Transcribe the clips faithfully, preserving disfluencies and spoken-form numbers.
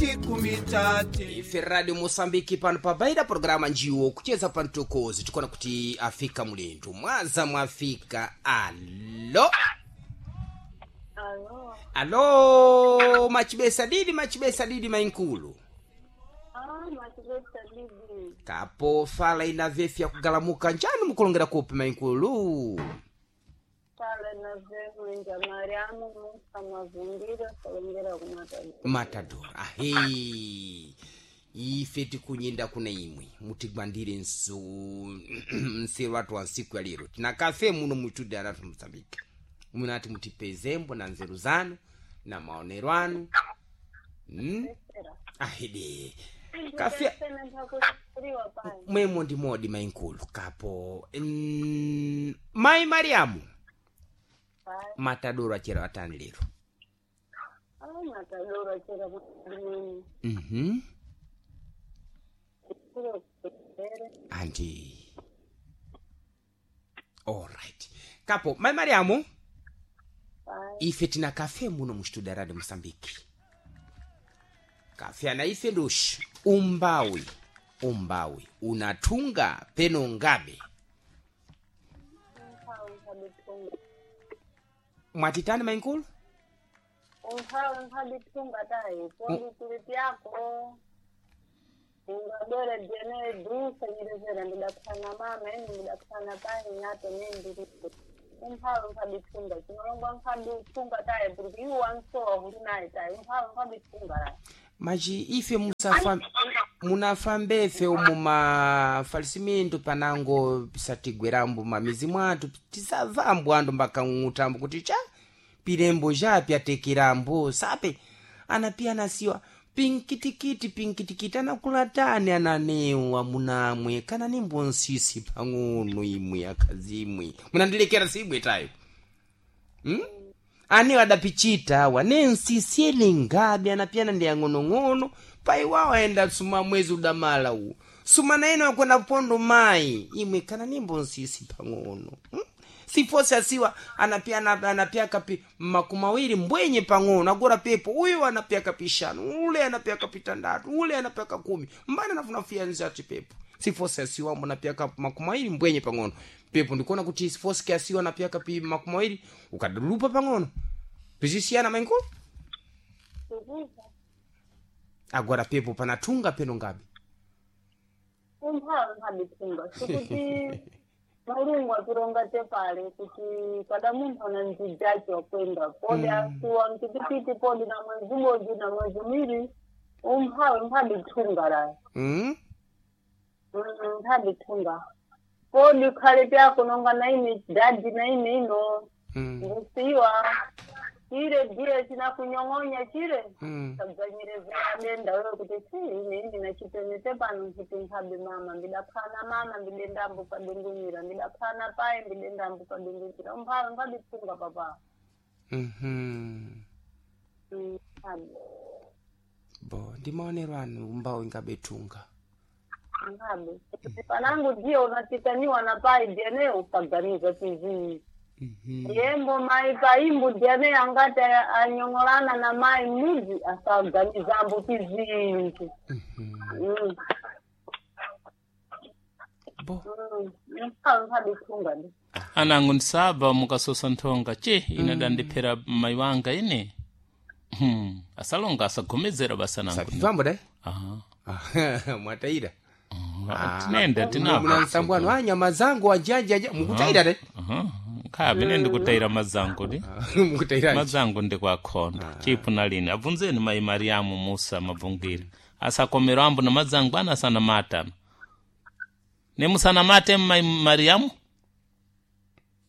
Ife Radio Mosambiki pano pabaida programa njiwo kucheza pantokozi tikuona kuti afika mulendo mwaza mwafika. Alo. Alo. Alo, machibesa didi machibesa didi mainkulu. Ah, machibesa didi. Kapo fala ina vefi ya kugalamuka njani mukulongera kupi mainkulu? Fala na vefu nja Mariamu Musa Mavundira kulongera kumatadora. Matador ahe ife tikunyinda kuna imwe mutigwandire nsu nseru watu wa nsiku ya lero tina kafe muno mwitude aratu Mozambique munati mutipezembo na nzeru zanu na maonero anu mm? ahede kafe Sena ntakusuriwa pai. mwemo ndi modi mainkulu kapo mm, mai Mariamu. Pai. Matadoro achera atani lero. Ah, matadora chera kumini. Mhm. Kuro kutere. Andi. Alright. Kapo, mai Mariamu, Pai. ife tina kafe muno mu studio Radio Mosambiki. Kafe ana ife ndoshi umbawi umbawi unatunga peno ngabe. Umphawi nkabitunga. Mwatitani mainkulu? Umphawi nkabitunga tai. Pondi kuliti yako. Ungadore jene dusa nyerezera ndidakusana mama eni ndidakusana pai nyato nendi. Umphawi nkabitunga. Chinolongwa nkabitunga tai. Porque iwo wansowa huri naye tai. Umphawi nkabitunga rai. Maji ife musafa munafambefe umu mafalisimintu panango pisatigwerambo mamizi mwathu tisavambo andu mbakang'utambo kuti cha pilembo japi atekerambo sape anapiya anasiwa pinkitikiti pinkitikiti anakulatani ananewa munamwe kana nimbo nsisi pang'ono imwe akazi imwe munandilekera sibwe tayo hmm? ane adapichita awa nensisiele ngabe anapiyana ndi ang'onong'ono pai wawo aenda suma mwezi udamala uwu suma naene wakwenda pondo mayi imwe kana nimbo nsisi pang'ono hmm? sifosi asiwa anapiyana anapia kapi makumawiri mbwenye pang'ono agora pepo uyu anapia kapishanu ule anapia kapitandatu ule anapia kakumi mbana nafunafia nzati pepo sifosi asiwa mbona ka makumawiri mbwenye pang'ono pepo ndikuona kuti sifosi kiasiwa anapia kapi makumawiri ukadulupa pang'ono pizisiyana mainkulu. Kukuza. Agora pepo panatunga peno ngabe. Umphawi nkabitunga. Sikuti mulungu atironga tepale kuti kada munthu ana nzijacho wakwenda podi asuwa mtikitiki podi na mwezi ubodzi na mwezi miwiri umphawi nkhabitunga rayi. Mm? Nkhabitunga podi khale pyako nonga naine dadi naine ino. Mm. Ngusiwa chire ndiye chinakunyong'onya chire. Mm. Tabzanyirezera denda wewe kuti si ine ndinachitenete pano nkuti nkhabe mama ndidaphana mama ndidendambo padungumira ndidaphana paye ndidendambo padungumira umphawi nkhabitunga papa. Mhm. Mm, nkhabe. Bo ndi maonero anu umbawo ingabetunga. Nkhabe panangu ndiye unatikaniwa na pai ndiane ukaganiza tizii. Mhm. Yembo mai paimbu ndiane angati aya- anyong'olana na mai mudzi asaganizambo tizinji. Mhm. Mm, Bo mm, umphawi nkhabitunga ndi. Anango ndisaba mukasosa nthonga che ine adandiphera mayi wanga ine. Hmm. Asalonga asagomezera basa nangu. sapivambo dai. Aha. Mwataira. Tinenda tinapa. Muna nsambwano a nyama zangu ajajaja mukutaira dai. Aha. Nkhabe ine ndikutayira mazango di. Mukutaira. Mazango ndikwakhonda chipu nalini abvunzeni mayi Mariamu Musa Mabvungire asakomero ambo na mazango ana asanamatana nemusanamate mayi Mariamu.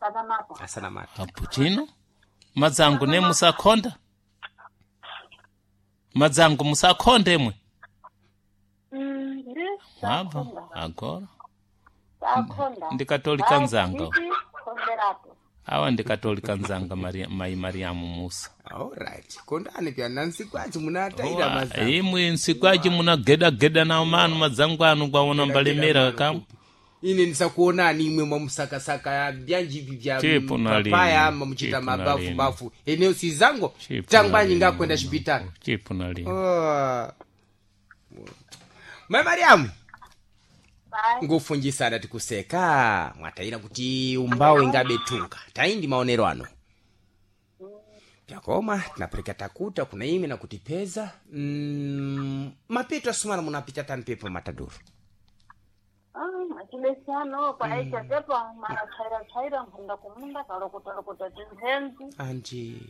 Sakamapa. Asana mata. Apo chino madzangu nemusakhonda madzangu musakhonde mwe. Mm, ndi Mwabva sakhonda. agora Sakhonda. ndikatolika nzanga. Khonderapo. Awa ndikatolika nzanga Maria, mayi Mariamu Musa. Alright. Kondani pya nansikwazi munataira Owa, mazangu. imwe nsikwaji munagedageda nawo manu madzangu anu kwaona mbalemera Geda-geda kamwe. Ine ndisakuonani imwe mwamusakasaka byanjivi vya Chipo na papaya lini, ama muchita chipo na mabafu lini. bafu eneo sizango Chipo tangwanyi na lini, ngakwenda xipitali. Chipo na lini. Oh. Mai Mariamu, Pai. ngufunjisana tikuseka mwatayira kuti umbawo ingabetunga tayi ndi maonero ano pyakoma tinapereka takuta kuna ime na kutipeza mm, mapeto asumana munapita tani pepo matadoro. Ah, machibesano kwaita tepa mara tsaira tsaira nkhunda kumunda kalokota lokota timphenzi. Anji.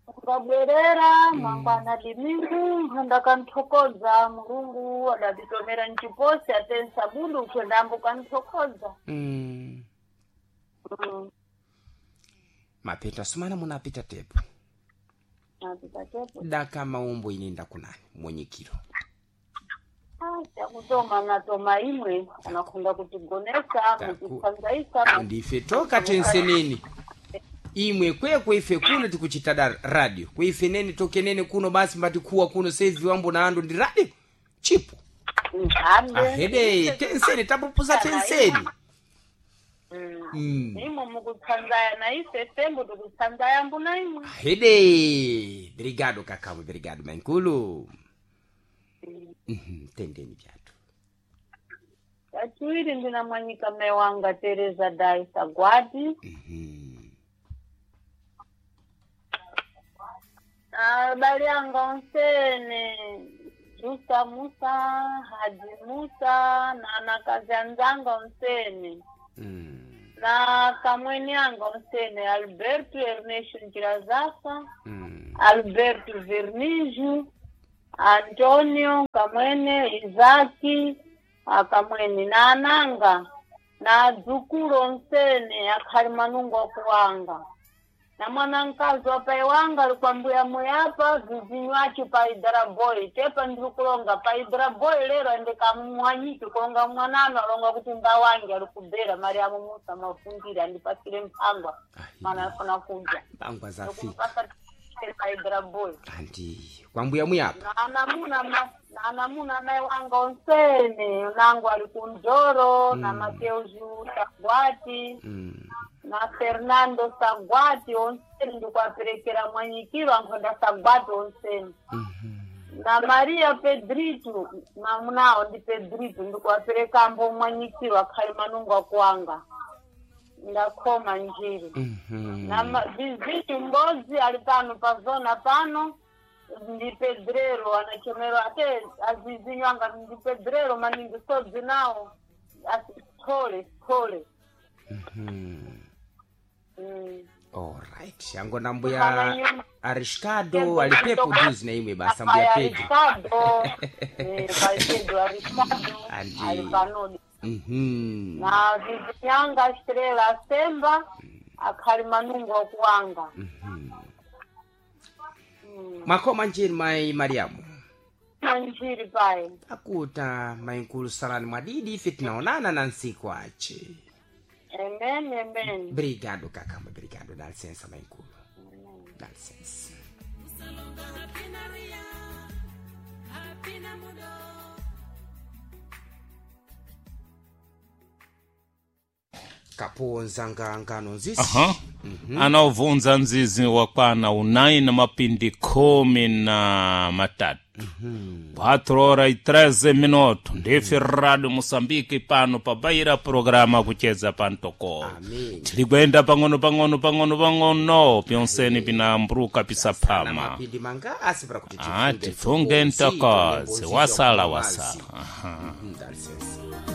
Ukabwerera mangwana dimingu nkhunda kanthokodza mulungu adatitomera mchiposi atensa bundu ukwendambo kanthokodza. mm. Mm. Mapeto asumana munapita tepo. Napita tepo. Daka maumbo inenda kunani mwenyikiro. Ah, chakutoma natoma imwe anakhunda kutigonesa Taku- mutitsanzaisa. Ndife toka tenseneni imwe kwekwe ife kuno tikuchita da radio kweife nene tokenene kuno basi mbatikuwa kuno sevi wambo na ando ndi radio chipo. Mphambe. Ahede tenseni tapupuza tenseni. Mm. Imwe mukutsanzaya na ife fembo tikutsanzaya mbuna imwe. Ahede brigado kakamo brigado mankulu. Mhm, tendeni vyatu. Kachiwiri ndina mwanyika mewanga Teresa Daisa Gwati. Mhm. Abale anga onsene Justa Musa, Haji Musa na anakazi anzanga onsene Mm. na kamweni anga onsene Alberto Ernesto Njirazasa, Mm. Alberto Vernizio, Antonio Kamwene, Isaki akamwene na ananga na adzukulu onsene akhali manungo akuwanga na mwana mkazi wa pai wanga ali kwa mbuya muyapa vizinyu acho pa idaraboi tepa ndiri kulonga pa idaraboi lero andikamwanyiki kulonga mwanano alonga kuti mbawange ali kubera Mariamu Musa mafungire andipasire mphangwa mana afuna kudya. Bangwa zafika. Ndikumpasa pa idaraboi. Anti kwambuya muyapa. Naanamuna ma- naanamuna mai wanga onsene nangu ali kunjoro na Mateuzu Sagwati Mm. na Fernando Sagwati onsene ndikuaperekera mwanyikiro ankhonda Sagwati onsene Mhm. na Maria Pedrito mamunawo ndi Pedrito ndikuaperekambo mwanyikiro akhali manungu akuwanga ndakhoma njiri. Mhm. Na ma- vizitu mbozi ali pano pa zona pano ndi pedrero anachomero ate azizinywanga ndi pedrero maningi sodzi nawo asithole sithole. Mhm. Mm. Alright, angona Kana mbuya nyuma. Arishkado alipepo juzi na imwe basa mbuya Aya Pedro. Ricardo, eh, pai Pedro Arishkado Andi. ali panodi Mhm. na vizinyanga Estrela Asemba akhali manungo okuwanga. Mhm. Mm. Makoma njiri mai Mariamu. Manjiri pai. Akuta mainkulu salani mwadidi ife tinaonana na nsiku ache. Amen, amen. Brigado kakamba brigado dá licença mainkulu. Dá licença. Kaponza ngangano nzisi. Aha. Anaovunza nzizi wakwana unai na mapindi khumi na matatu quatro horas e treze minuto ndife radio Moçambique pano pabaira programa kucheza pantoko. Amém. Tili kwenda pang'ono pang'ono pang'ono pang'ono pyonseni pinambruka Na pisaphama. mapindi manga asi para kuti Ah, tifunge tifunge ntokozi, ntokozi tifunge wasala nzizi wasala. Aha. Mhm, dá licença.